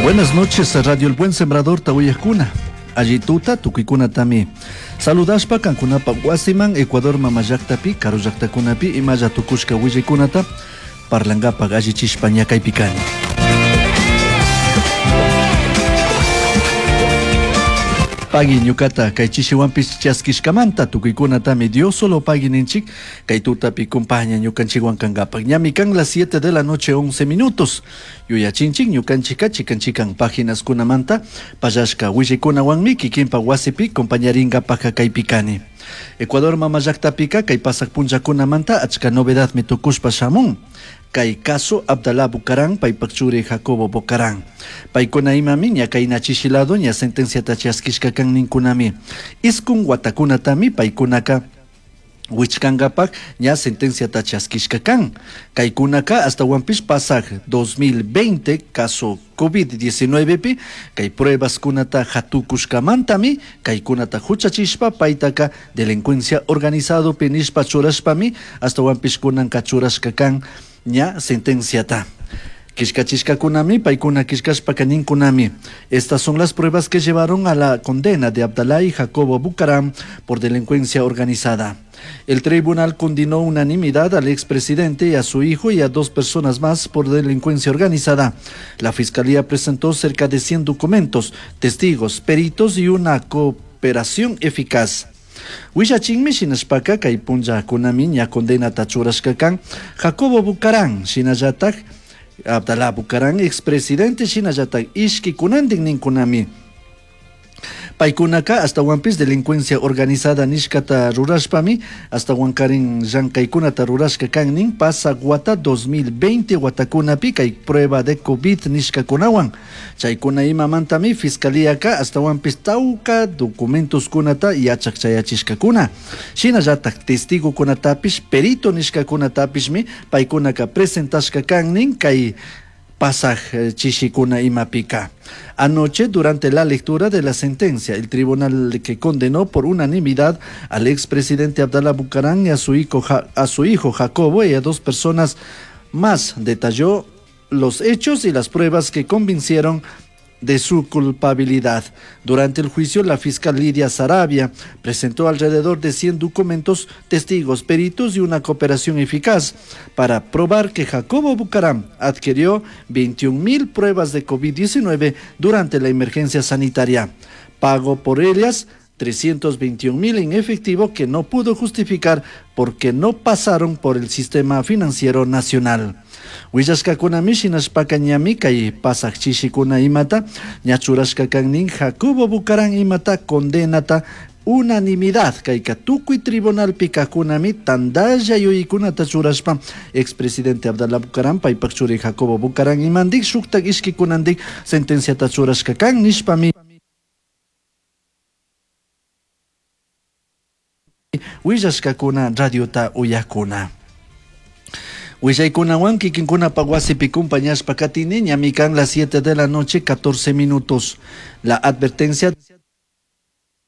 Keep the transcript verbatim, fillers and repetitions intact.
Buenas noches, Radio El Buen Sembrador Tawiyakuna. Alli tuta tukuykunatami. Saludashpa kankunapa wasiman Ecuador mama llaktapi, karu llaktakunapi imalla tukushka willaykunata parlankapak allichishpa ñakaypi kani. Pagui ñukata kay chishiwanpish chaskishkamanta tukuykunatami Dios solo pagui ninchik kay tutapi compaña ñukanchikwan kankapak. Ñami kan las siete de la noche once minutos. Yuyachinchik ñukanchika chikan chikan páginas kunamanta pallashka willaykunawanmi kikinpa wasipi compañarinkapak kaypi kani. Ecuador mama llaktapika kay pasak punllakunamanta achka novedadmi tukushpa shamun. Kay caso Abdalá Bucaram, paypak churi Jacobo Bucaram. Paykuna imami ña kayna chishilado ña sentenciata chaskishka kan ninkunami. Iskun watakunatami paykunaka wichkankapak ña sentenciata chaskishka kan. Kaykunaka hasta wampis pasak dos mil veinte caso COVID diecinueve pi, kay pruebas kunata hatukushkamantami, kaykunata huchachishpa paytaka delincuencia organizado pi nishpa churashpami, hasta wampis kunanka churashka kan ña sentenciata. Kishkachishkakunami, paykuna kishkashpaka ninkunami. Estas son las pruebas que llevaron a la condena de Abdalá y Jacobo Bucaram por delincuencia organizada. El tribunal condenó unanimidad al expresidente y a su hijo y a dos personas más por delincuencia organizada. La fiscalía presentó cerca de cien documentos, testigos, peritos y una cooperación eficaz. Willachinmi shinashpaka kay punllakunami ña condenata churashka kan Jacobo Bucaram, shinallatak Abdalá Bucaram, expresidente, shinallatak ishki kunantin ninkunami. Paykunaka hasta wampis delincuencia organizada nishkata rurashpami, hasta wankarin llankaykunata rurashka kan nin pasa wata dos mil veinte watakunapi kay prueba de COVID nishkakunawan. Chaykuna imamantami fiscalíaka hasta wampis tawka documentos kunata yachak chayachishkakuna. Shinallatak testigo kunatapish, perito nishkakunatapishmi paykunaka presentashka kan nin kay pasaj, eh, chishikuna imapika. Anoche, durante la lectura de la sentencia, el tribunal que condenó por unanimidad al expresidente Abdalá Bucaram y a su hijo, a su hijo Jacobo y a dos personas más, detalló los hechos y las pruebas que convencieron de su culpabilidad. Durante el juicio, la fiscal Lidia Saravia presentó alrededor de cien documentos, testigos, peritos y una cooperación eficaz para probar que Jacobo Bucaram adquirió veintiún mil pruebas de COVID diecinueve durante la emergencia sanitaria. Pagó por ellas trescientos veintiún mil en efectivo que no pudo justificar porque no pasaron por el sistema financiero nacional. Willashkakunami shinashpaka ñami kay pasaj chishikuna imata ñachurashka kannin Jacobo Bucaram imata condenata unanimidad kayka tukuy tribunalpi kajkunami tandalla yuyaykunata churashpa expresidente Abdalá Bucaram paypak churi Jacobo Bucaram imandik shuktak ishkikunandik sentenciata churashka kan nishpami willashkakuna radiota uyakuna. Willaykunawan kikinkunapa wasipi compañashpa katini ñami kan las siete de la noche catorce minutos. La advertencia